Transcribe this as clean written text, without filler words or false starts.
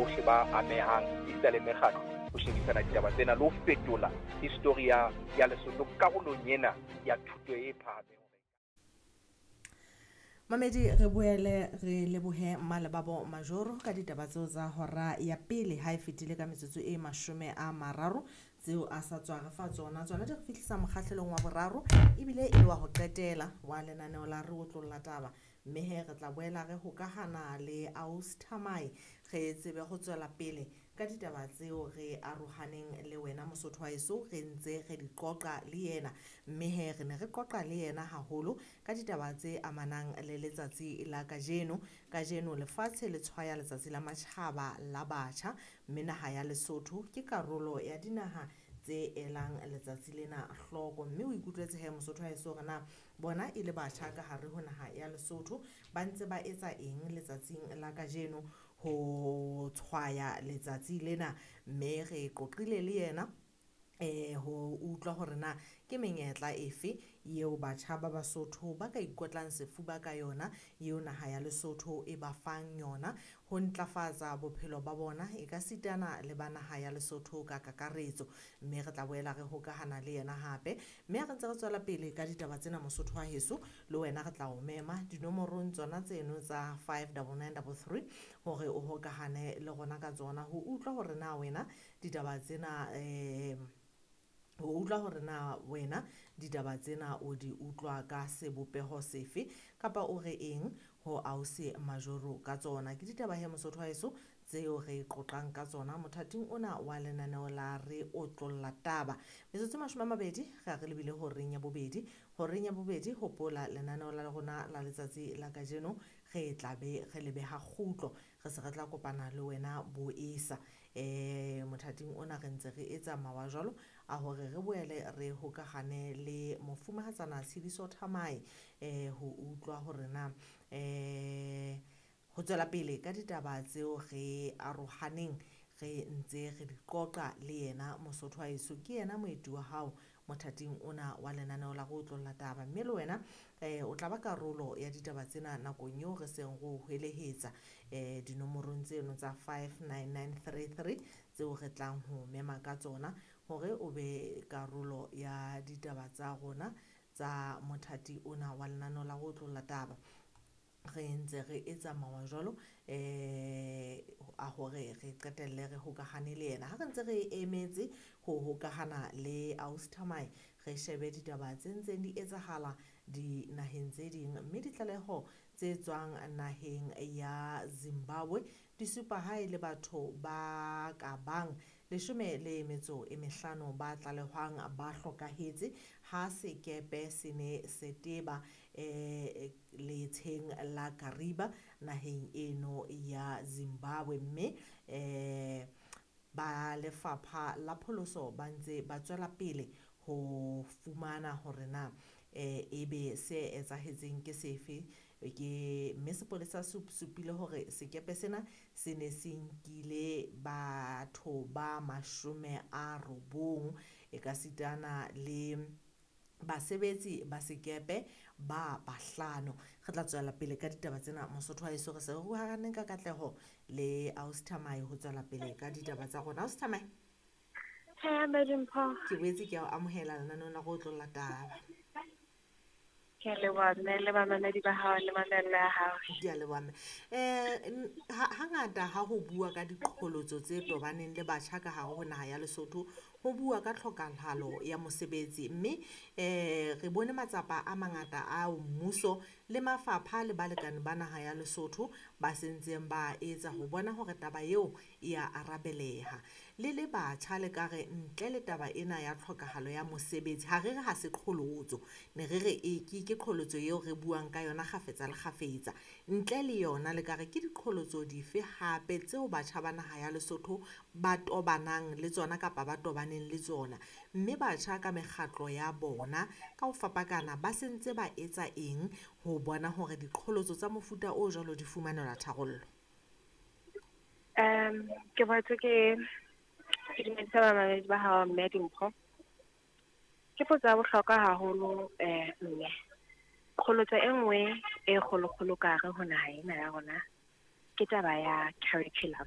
bohle ba amehang esita le mekgatlo ho shebisana ditaba tsena le ho fetola histori ya ya Lesotho karolong ena ya thuto e phahameng. Mamedi, re boele re lebohe Mmalebabo Majoro ka ditaba tseo tsa hora ya pele ha e fetile ka metsotso e 30 tseo a sa tswa re fa tsona. Tsona di re fihlisa mokgahlelong wa boraro ebile e le wa ho qetela wa lenaneo la Re Otlolla Taba. Mme he re tla boela re hokahana le Aus Thamae re tsebe ho tswela pele ka ditaba tseo re arohaneng le wena Mosotho wa heso, re ntse re di qoqa le yena. Mme he re ne re qoqa le yena haholo ka ditaba tse amanang le letsatsi la kajeno. Kajeno lefatshe le tshwaya letsatsi la matjhaba la batjha, mme naha ya Lesotho ke karolo ya dinaha tse elang letsatsi lena hloko. Mme o ikutlwetse he Mosotho wa heso hore na bona e le batjha ka hare ho naha ya Lesotho ba ntse ba etsa eng letsatsing la kajeno ho tshwaya letsatsi lena. Mme re qoqile le yena ho utlwa hore na ke menyetla efe eo batjha ba Basotho ba ka ikotlang sefuba ka yona, eo naha ya Lesotho e ba fang yona ho ntlafatsa bophelo ba bona e ka sitana le ba naha ya Lesotho ka kakaretso. Mme re tla boela re hokahana le yena hape. Mme ha re ntse re tswela pele ka ditaba tsena Mosotho wa heso, le wena re tla o mema dinomorong tsona tseno tsa 59933 hore o hokahane le rona ka tsona ho utlwa hore na wena ditaba tsena ho utlwa hore na wena ditaba tsena o di utlwa ka sebopeho sefe kapa o re eng ho Ausi Majoro ka tsona. Ke ditaba he Mosotho wa heso tseo re qoqang ka tsona mothating ona wa lenaneo la Re Otlolla Taba. Metsotso 20 re a re lebile horeng ya bobedi. Horeng ya bobedi, hopola lenaneo la rona la letsatsi la kajeno re tla be re le beha kgutlo, re se re tla kopana le wena boesa. Mothating ona re ntse re etsa mawa jwalo a hore re boele re hokahane le mofumahatsana Tshidiso Thamae ho utlwa hore na ho tswela pele ka ditaba tseo re arohaneng re ntse re di qoqa le yena Mosotho wa heso. Ke yena moeti wa hao mothating ona wa lenaneo la Re Otlolla Taba. Mme le wena o tla ba karolo ya ditaba tsena nakong eo re seng re o hwelehetsa dinomorong tseno tsa 59933 tseo re tlang ho mema ka tsona hore o be karolo ya ditaba tsa rona tsa mothati ona wa lenaneo la Re Otlolla Taba. Re ntse re etsa mawa jwalo a hore re qetelle re hokahane le yena. Ha re ntse re emetse ho hokahana le Aus Thamae, re shebe ditaba tse ntseng di etsahala dinaheng tse ding. Mme ditlaleho tse tswang naheng ya Zimbabwe di supa ha e le batho ba ka bang 15 ba tlalehwang ba hlokahetse ha sekepe se ne se teba letsheng la Kariba naheng eno ya Zimbabwe. Mme ba lefapha la pholoso ba ntse ba tswela pele ho fumana hore na ebe se etsahetseng ke sefe. Ke mme sepolesa se supile hore sekepe sena se ne se nkile batho ba 90 e ka sitana le basebetsi ba sekepe ba 5. Re tla tswela pele ka ditaba tsena Mosotho wa heso. Re se re ruhaneng ka katleho le Aus Thamae ho tswela pele ka ditaba tsa rona. Aus Thamae, ke boetse ke a o amohela lenaneong la Re Otlolla Taba. Ke a leboha mme le bamamedi ba hao le mamello ya hao. Ke a leboha mme. Hangata ha ho bua ka diqholotso tse tobaneng le batjha ka hare ho naha ya Lesotho, ho bua ka tlhokahalo ya mosebetsi. Mme re bone matsapa a mangata a mmuso le mafapha le balekane ba naha ya Lesotho ba sentseng ba etsa ho bona hore taba eo e a arabeleha. Le le batjha le ka re ntle le taba ena ya tlhokahalo ya mosebetsi, ha re re ha se qholotso, ne re re e ke qholotso eo re buang ka yona kgafetsa le kgafetsa. Ntle le yona le ka re ke diqholotso dife hape tseo batjha ba naha ya Lesotho ba tobanang le tsona kapa ba tobaneng le tsona? Mme batjha ka mekgatlo ya bona ka ho fapakana ba sentse ba etsa eng ho bona hore diqholotso tsa mofuta o jwalo di fumanelwa tharollo? Ke boetse ke dumedisa bamamedi ba hao mme Dimpho. Ke potso ya bohlokwa haholo mme. Qholotso e nngwe e kgolokgolo ka hare ho naha ena ya rona ke taba ya curriculum.